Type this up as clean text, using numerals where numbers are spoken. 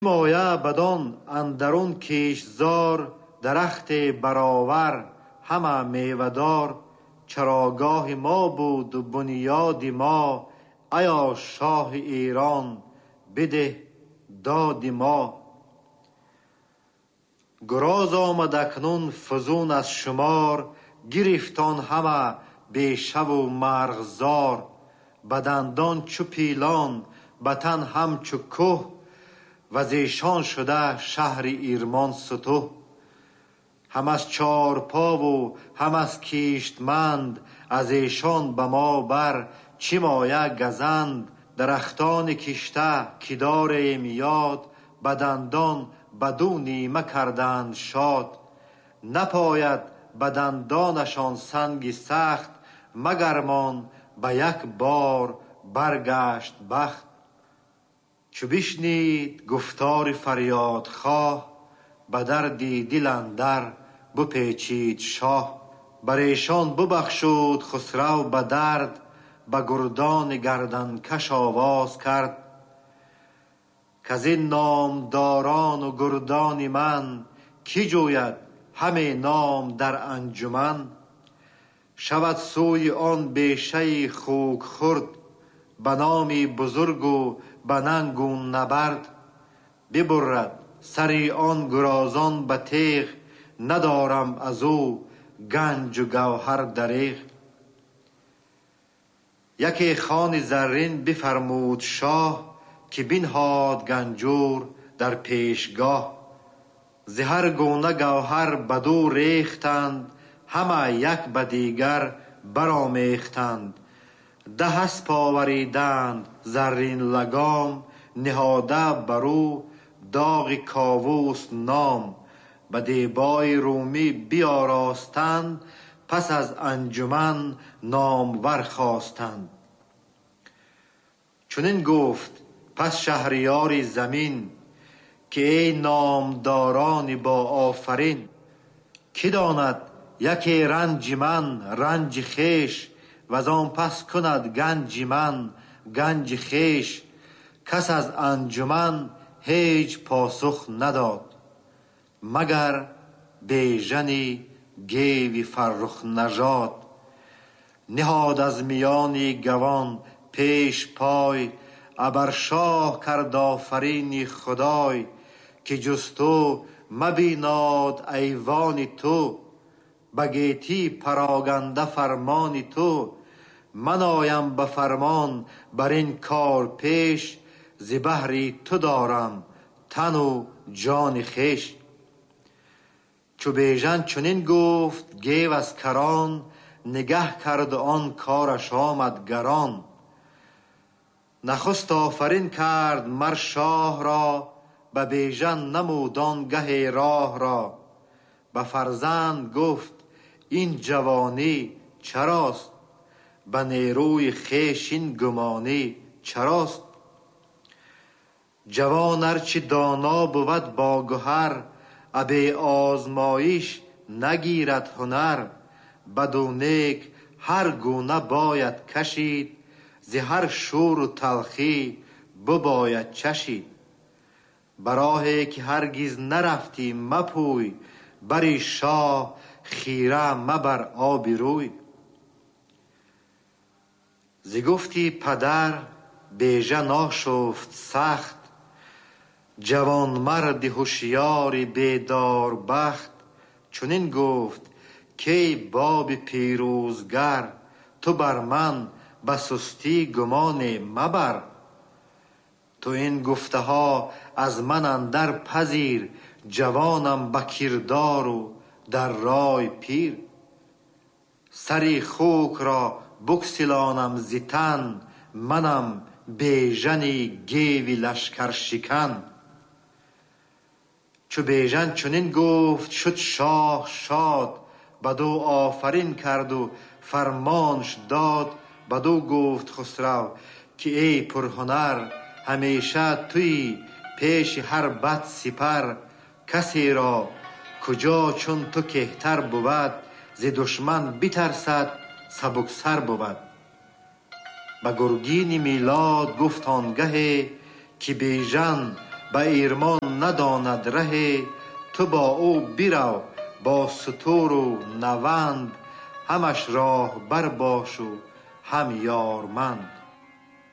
Моя бадон андарун киштзор, дарахте баровар ҳама мевадор. Чарогоҳи мо буд бунёди мо, аё шоҳи Эрон бидеҳ доди мо. Гуроз омад акнун фузун аз шумор, гирифт он ҳама бешаву марғзор. Ба дандон чу пилон, ба тан ҳамчу кӯҳ, ва зешон шуда шаҳри Ирмон сутӯҳ. Ҳам аз чорпову ҳам аз киштманд, аз эшон ба мо бар чӣ моя газанд. Дарахтони кишта ки дорем ёд, ба дандон ба ду нима карданд шод. Напояд ба дандонашон санги сахт, магармон ба як бор баргашт бахт. Чу бишнид гуфтори фарёдхоҳ, ба дарди дил андар бипечид шоҳ. Бар эшон бибахшуд Хусрав ба дард, ба гурдони гарданкаш овоз кард. Каз ин номдорону гурдони ман, ки ҷӯяд ҳаме ном дар анҷуман? Шавад сӯи он бешаи хук хурд, ба номи бузургу ба нангу набард. Бибурад сари он гурозон ба теғ, надорам аз ӯ ганҷу гавҳар дареғ. Яке хони заррин бифармуд шоҳ, ки бинҳод ганҷур дар пешгоҳ. Зи ҳар гуна гавҳар баду рехтанд, ҳама як ба дигар баромехтанд. Даҳ асп овариданд заррин лагом, ниҳода бар ӯ доғи Ковус ном. Ба дебои румӣ биёростанд, пас аз анҷуман номвар хостанд. Чунин гуфт пас шаҳриёри замин, ки эй номдорони боофарин, ки донад яке ранҷи ман ранҷи хеш, ваз он пас кунад ганҷи ман ганҷи хеш. Кас аз анҷуман ҳеҷ посух надод, магар Бежани геви фаррухнажод. Ниҳод аз миёни гавон пеш пой, абар шоҳ кард офарини Худой, ки ҷуз ту мабинод айвони ту, ба гетӣ пароганда фармони ту. Ман оям ба фармон бар ин кор пеш, зи баҳри ту дорам тану ҷони хеш. Чу Бежан чунин гуфт, гев аз карон, нигаҳ кард он кораш омад гарон. Нахуст офарин кард мар шоҳ ро, ба Бежан намуд он гаҳе роҳ ро. Ба фарзанд гуфт ин ҷавонӣ чарост, ба нерӯи хеш ин гумонӣ чарост? Ҷавон арчи доно бувад бо гуҳар, абе озмоиш нагирад ҳунар. Баду нек ҳар гуна бояд кашид, зи ҳар шӯру талхӣ бибояд чашид. Ба роҳе ки ҳаргиз нарафтӣ мапӯй, бари шоҳ хира мабар оби рӯй. Зи гуфти падар Бежан ошуфт сахт, ҷавонмарди ҳушёри бедорбахт. Чунин гуфт кей боби пирӯзгар, ту бар ман ба сустӣ гумоне мабар. Ту ин гуфтаҳо аз ман андар пазир, ҷавонам ба кирдору дар рой пир. Сари хукро буксилонам зи тан, манам Бежани геви лашкаршикан. Чу Бежан чунин гуфт, шуд шоҳ шод, баду офарин карду фармонш дод. Баду гуфт Хусрав ки эй пурҳунар, ҳамеша туи пеши ҳар бад сипар. Касеро куҷо чун ту кеҳтар бувад, зи душман битарсад сабуксар бувад. Ба гургини Милод гуфт он гаҳе, ки Бежан Ба Эрмон надонад раҳе, ту бо ӯ бирав бо сутур ва наванд, ҳамаш роҳбар бош ва ҳам ёрманд.